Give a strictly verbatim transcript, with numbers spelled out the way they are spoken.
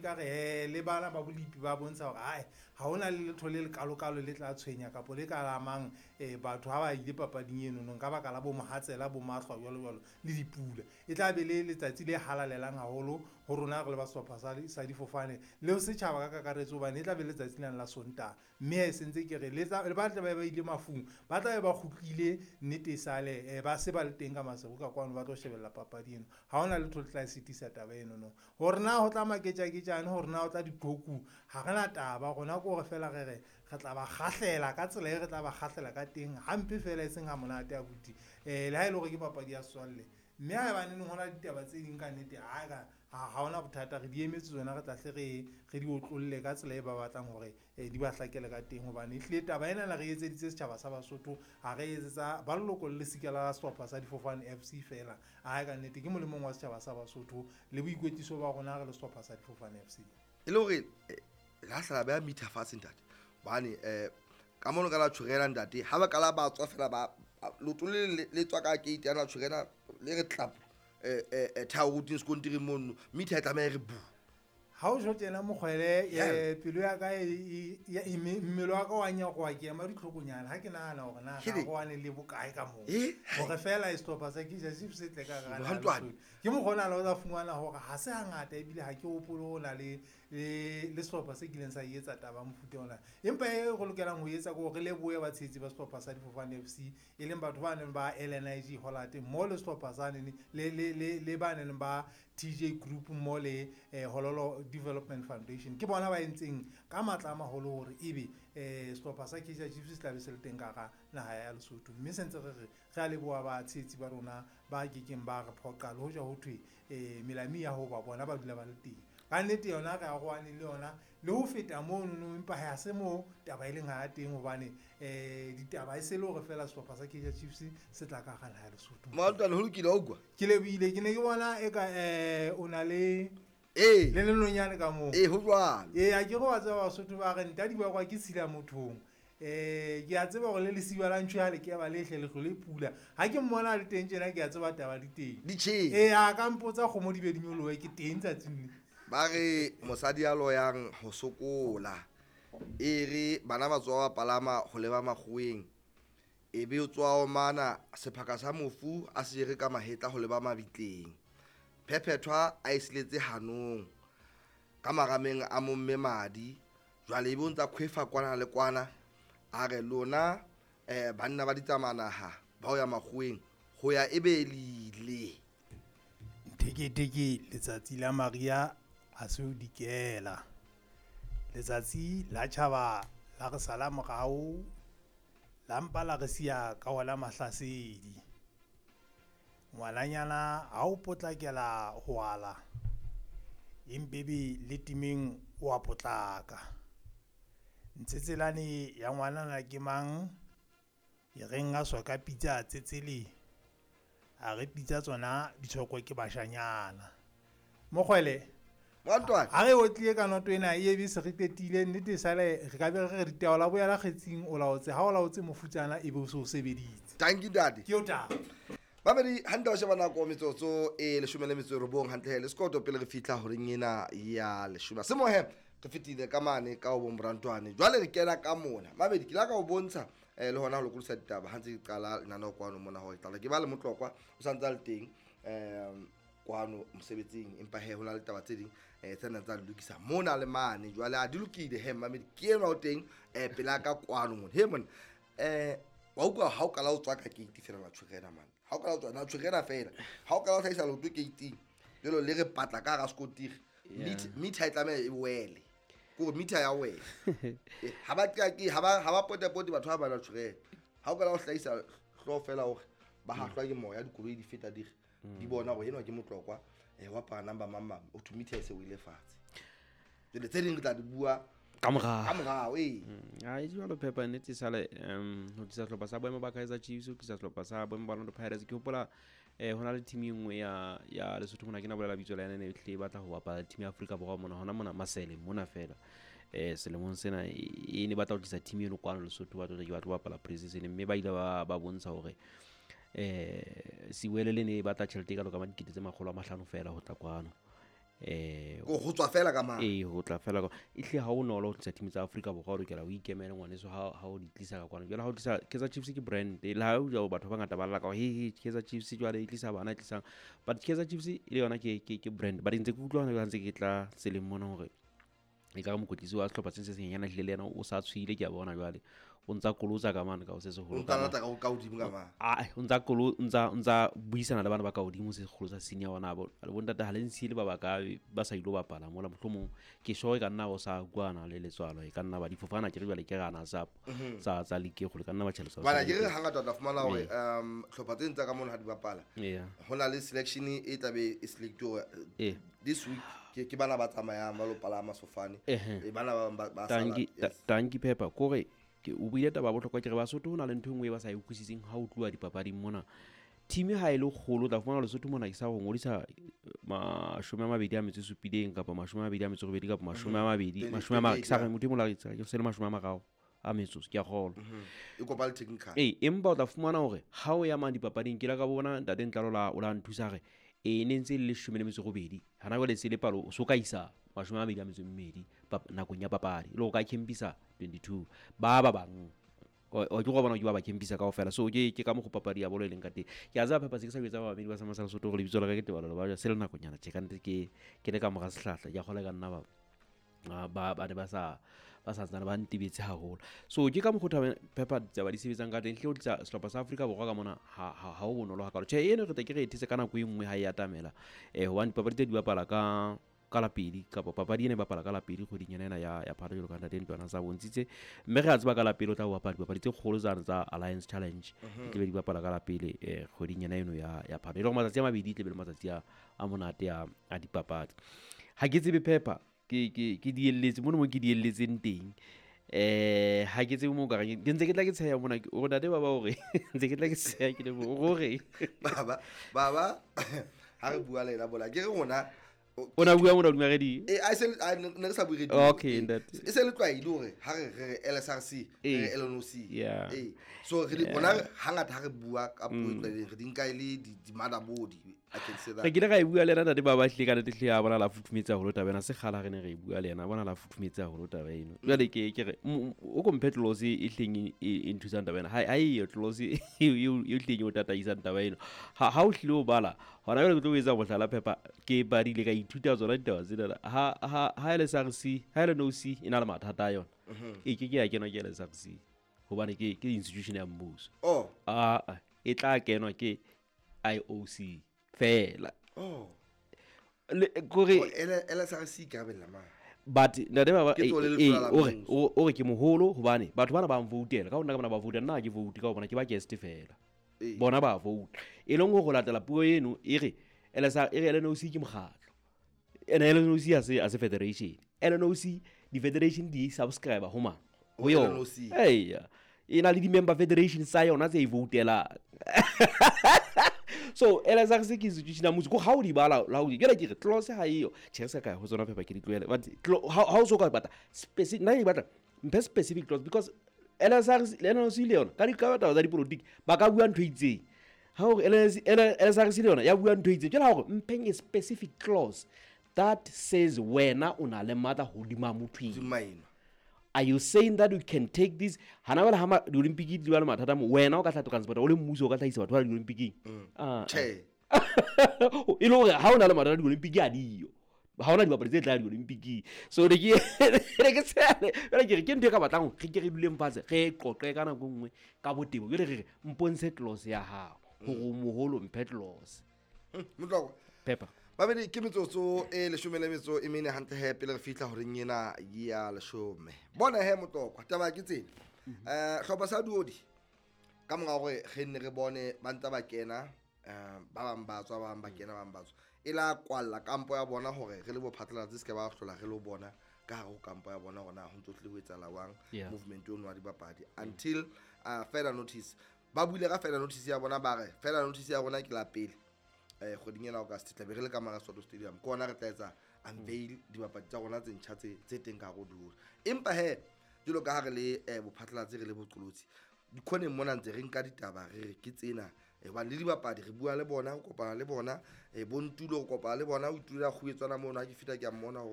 Ka re eh, le bana ba bolipi ba bontsha hore ae ha hona le letho le lekalokalo le tla tshwenya kapo le ka lamang um batho ha ba ile papading eno ka baka la bo mohatsela, bo mahlwa jwalo jwalo le dipula. E tla be le letsatsi le halalelang haholo ho rona re le ba sehlopha sa sa difofane le ho setjhaba ka kakaretso, hobane e tla be letsatsi lena la Sontaha. Mme e sentse ke re le ba tla be ba ile mafung, ba tla be ba kgutlile nnete e sale, eh, ba se ba le teng ka Maseru ka kwano ba tlo shebella papadi eno. Ha hona letho le tla sitisa taba eno no. Hore na ho tla maketjaketjane, hore na ho tla diqhoku, ha re na taba. Rona ke hore feela re re re tla ba kgahlela ka tsela e re tla ba kgahlela ka teng, hampe feela e seng ha monate abuti. Eh, le ha e le hore ke papadi ya setswalle, mme haebaneng ho na le ditaba tse ding ka nnete, ha ka ha hona bothata, re di emetse tsona, re tla hle re re di otlolle ka tsela e ba batlang hore eh, di ba hlakele ka teng. Hobane ehlile taba ena re etseditse setjhaba sa Basotho, ha re etsetsa ba leloko le lesika la sehlopha sa Difofane F C feela. Ha ka nnete ke molemong wa setjhaba sa Basotho le boikwetliso ba rona re le sehlopha sa Difofane F C. E le hore, eh, la hlala ba meter fatshe ntate, hobane, eh, ka mono ka la tshwerela ntate, ha ba kala ba tswa fela ba leoto le le, le tswa ka gate ya la tshwerela le re tlap, eh, eh, eh, thao routine sekontiring mono, meter e tlameha e re bu. Ha o tjho tjena mokgwele, Yeah. eh, pelo ya ka e, e, e, e, mmele wa ka wa nyakoha, ke ema ditlhokonyana ha ke nahana hore na Ke ga re- go wane le bokae ka moo. Eh? Hore fela e sehlopha sa Kaizer Chiefs se tle ka hara Hwa ntlwane. Lesotho. Ke mokgwa ona le o tla fumana hore ha se hangata ebile ha ke hopole ho na le, le, le sehlopha se kileng sa etsa taba ya mofuta ona. Empa e re lokelang ho etsa ke hore re lebohe batshehetsi ba sehlopha sa Difofane F C, e leng batho ba neng ba L N I G Hollard mmoho le sehlopha sa nene, le, le, le, le ba neng ba T J Group mmoho le, eh, Hololo Development Foundation. Ke bona ba entseng ka matla a maholo hore ebe, eh, sehlopha sa Kaizer Chiefs se tla be se le teng ka hara naha ya Lesotho. Mme se ntse re re, re a leboha batshehetsi ba rona ba kekeng ba re phoqa le hoja ho thwe, eh, melami ya ho ba bona ba dula ba le teng. Ka nnete yona re arohane le yona le ho feta mono no, empa ha se moo taba e leng ha teng, hobane, eh, ditaba e se le hore fela sehlopha sa Kaizer Chiefs se tla ka hara naha ya Lesotho. Maltwane, ho lokile, wa utlwa? Ke lebohile, ke ne ke bona eka, eh, o na le Ee. le lenonyane ka moo. Ee, ho jwalo. Ee, ha ke re wa tseba Basotho ba re nta dibakwa ke tshila mothong. Eh, ke a tseba hore le lesiba la ntho ya le ke ba le hle le hlole pula. Ha ke mmona le teng tjena, ke a tseba taba di teng. Di tjhele. Ee, a ka mpotsa kgomo di be di nyolohe, ke teng tsatsing le. Ba re mosadi ya loyang ho sokola, e re bana ba tswa ba palama ho leba makgoweng, e be o tswa omana sephaka sa mofu a se jere ka mahetla ho leba mabitleng. Phephethwa a e siletse hanong ka marameng a momme madi, jwale e be o ntsa khwefa kwana le kwana, a re lona, eh, banna ba ditsamanaha ba ho ya makgoweng ho ya e be lile. Ntheketheke letsatsi la Maria ha se ho dikela. Letsatsi la tjhaba la re sala morao, la mpa la re siya ka ona mahlasedi. Ngwananyana ha o potlakela ho ala, empe be le temeng o a potlaka. Ntshetselane ya ngwanana ke mang? E reng a soka pitsa tsetsele, a re pitsa tsona di tshokwe ke bashanyana. Mokgwele, Montwane. ha re otlile ka noto ena, e be se re qetile, nnete sale re ka be re re ditaba la boya la kgetsing, o laotse, ha o laotse mofutsana e be o se o sebeditse. Thank you, daddy. Ke o taba. Babedi, hantle wa sheba nako metsotso e leshome le metso e robong, hantle he, le sekoto pele re fihla horeng ena ya leshome. Semohe, re fetile ka mane ka ho bo Morantwane. Jwale re kena ka mona. Mabedi, ke la ka o bontsha, eh, le hona ho lokodisa ditaba ha ntse ke qala lenaneo kwano mona hore ke tla ke ba le Motlokwa, o sa ntse a le teng, eh, kwano mosebetsing, empa he ho na le taba tse ding, eh, tse nang tsa lokisa mona le mane. Jwale a di lokile he Mamedi, ke enwa o teng, eh, pela ka kwano mona. He monna, eh, wa utlwa ha o kala o tswa ka gate fela la tshwerena man. Ha o kala o tswa, na tshwerena fela. Ha o kala o hlahisa leoto gate-ing, jwalo le re patla ka hara sekontiri. Yeah. Meter, meter e tlameha e wele. Ke hore meter ya wela. Eh, ha ba qa-, ke, ha ba, ha ba potapote batho ba ba la tshwerena. Ha o kala o hlahisa hlooho fela hore ba hahlwa ke moya, dikoloi di feta di re, di bona hore enwa ke Motlokwa, eh, wa apara number mang mang, o thwe meter e se wele fatshe. Jwale tse ding re tla di bua Ka morao. Ka morao, ee. Mm, ha e jwalo Pepper, nnete sale, um, ho tlisa sehlopha sa boemo ba Kaizer Chiefs, ho tlisa sehlopha sa boemo ba Orlando Pirates. Ke hopola, eh, ho na le team e nngwe ya, ya Lesotho mona, ke na bolela bitso la yona, e ne e hlile e batla ho bapala team ya Afrika Borwa mona, hona mona Masele mona fela. Eh, selemong sena e, e ne batla ho tlisa team eno kwano Lesotho, ba tlo ke batla ho bapala pre-season, mme ba ile ba, ba bontsha hore, eh, Siwele le ne e batla tjhelete e kalo ka dikete tse makgolo a mahlano fela ho tla kwano. Eh go tswa fela ka mang ee go tla fela ka e hle ha o nolo ho tlisa team tsa Afrika Borwa o lokela o ikemele ngwaneso ha ha o di tlisa ka kwana. Jwale ha o tlisa Kaizer Chiefs ke brand le ha o ja batho ba bangata ba lla ka he he Kaizer Chiefs jwale e tlisa bana e tlisang, but Kaizer Chiefs e le yona ke ke ke brand. But ntse ke utlwa hona ntse ke tla tseleng mona hore e ka mokwetlisi wa sehlopha se se senyenyana hlile le yena o sa tshwile ke a bona jwale o ntsa kolotsa ka mane ka o se seholo o ntsa lata ka ka hodimo ka mane a o ntsa kolo ntsa ntsa buisana le bana ba ka hodimo se seholo sa senior bona bo le bontate ha le ntshile ba ba ka ba sa ilo bapala mola mohlomong ke sure e ka nna o sa kwana le letswalo e ka nna ba difofana ke re jwale ke rana sa tsa tsa league e kgolo ka nna ba tjhelete bana ke re hangata tla fumana hore um hlopha tse ntsa ka mona ha di bapala ho na le selection e tlabe e select hore this week ke ke bana ba tsamayang ba lo palama sefofane e bana ba ba sala tanki Pepper kore ke o buile taba bohlokwa ke re Basotho ho na le ntho e nngwe e ba sa e utlwisiseng ha o tluwa dipapading mona. Team ha e le kgolo tla fumana Lesotho mona ke sa go ngodisa mashome a mabedi a metso e supileng kapa mashome a mabedi a metso e robedi kapa mashome a mabedi mashome a ke sa re motho e mong ke se le mashome a mararo a metso ke a kgolwa e kopa le technical ee empa o tla fumana hore ha o ya mang dipapading ke la ka bona ntate Ntlalo la o la nthusa re e ne ntse le leshome le metso e robedi hana jwale se le palo o so ka isa mashome a mabedi a metso e mmedi nakong ya papadi e le ho ka campisa twenty-two ba ba bang o ke go bona ke ba ba campisa kaofela. So ke ke ka mo go papadi ya bolo e leng ka teng. Ke a tseba Pepper se ke sa jwetsa ba babedi ba sa Masala Sotho gore lebitso la ka ke Tebalo ba se le nakonyana tje ka nnete ke ke le ka mora sehlahla ke a kgolwa ka nna ba ba ba ne ba sa ba sa tsana ba ntebetse haholo. So ke ka mokgwa taba Pepper taba di sebetsang ka teng hle o tlisa sehlopha sa Afrika Borwa ka mona ha ha ho bonolo hakalo. Tjhe eno re tla ke re ethetse ka nako e nngwe ha e atamela eh hobane dipapadi tse di bapala ka ka lapedi kapa papadi ena e bapala ka lapedi kgweding ena ya ya Phato jwalo ka ntate Ntwana sa bontshitse mme re a tseba ka lapele o tla bapala dipapadi tse kgolo tsane tsa Alliance Challenge di tlabe di bapala ka lapele eh kgweding ena eno ya ya Phato e le hore matsatsi a mabedi tlabe le matsatsi a a monate a a dipapadi. Ha ke tsebe Pepper ke ke ke dielletse mono mo ke dielletseng teng eh ha ke tsebe mo ka ke ntse ke tla ke tsheya mona o re ntate baba hore ntse ke tla ke tsheya ke le hore baba baba ha re bua le ena bola ke re rona o na bua mona hodima radio eh a se ne re sa bue radio okay ntate e se le tlwaile hore ha re re L S R C re L N O C eh so re bona hangata ha re bua ka puo e tlwaeleng re di nka e le di motherboard. I can say that re kile ka e bua le ena ntate baba hle ka nnete hle a bona la futhumetse haholo taba ena se kgala re ne re e bua le ena bona la futhumetse haholo taba eno jwale ke ke re o komphe clause e hleng e nthusang taba ena ha ha e clause e hleng o tataisang taba eno ha ha o hlile o bala hona jwale ke tlo etsa mohlala Pepper ke badile ka ithuta tsona ditaba tsena ha ha ha L S R C ha L N O C e na le mathata a yona e ke ke ya kenwa ke L S R C hobane ke ke institution ya mmuso oh a e tla kenwa ke I O C fela oh le kore L S R C ka bella ma but ntate baba o re o re ke moholo hobane batho bana ba mvoutela ka hona ka bana ba vouta nna ke vote ka hobana ke ba guest fela bona ba vote e leng go latela puo eno e re L S R e re L N O C ke mokgatlo ene L N O C a se a se federation L N O C di federation di subscribe ho mang ho yona eya e na le di member federation sa yona tse e voutela so L S R C ke institution ya mmuso ko ha o di bala la o di ke re clause ha eyo tjhe se ka ho tsona Pepper ke di tlohele but ha o so ka batla specific nna ke batla mphe specific clause because L S R C le L N O C le yona ka dikaba tsa dipolotiki ba ka bua ntho e itseng ha hore L S R C le yona ya bua ntho e itseng jwale ha hore mpheng a specific clause that says wena o na le matla hodima motho eno. Are you saying that you can take this hana wela ha di Olympic di ba le mathata mo wena o ka tla transport o le mmuso o ka tlhaisa batho ba di Olympic ah che e le hore ha o na le mathata di Olympic a diyo ha ona dibapadi tse tla di Olympic so re ke re ke tsele jwale ke re ke ntho e ka batlang re ke re duleng fatshe re qoqe ka nako nngwe ka botebo jwale re re mpontshe clause ya hao hore moholo mphe clause Motlokwa Pepper babedi ke metsotso e leshome le metso e mene hantle he pele re fihla horeng ena ya leshome bona he Motlokwa taba ke tsena eh hlopha sa Duodi ka mora hore re nne re bone ba ntse ba kena eh ba bang ba tswa ba bang ba kena ba bang ba tswa e la kwalla kampo ya bona hore re le bo phatlalatse se ke ba hlola re lo bona ka hare ho kampo ya bona hore na ho ntso tlile ho etsahala jwang movement ono wa dibapadi until uh, further notice ba buile ka further notice ya bona ba re further notice ya rona ke la pele eh kgweding ena August tla be re le ka mara Soweto Stadium ke ona re tla etsa unveil dibapadi tsa rona tse ntjha tse tse teng ka hare ho Duodi empa he jwalo ka ha re le bophatlalatsi re le boqolotsi dikhoneng mona ntse re nka ditaba re re ke tsena Hobane le dibapadi re bua le bona, re kopana le bona, um bontulo re kopana le bona, o itulela kguetswana mono. Ha ke fihla ke a mmona hore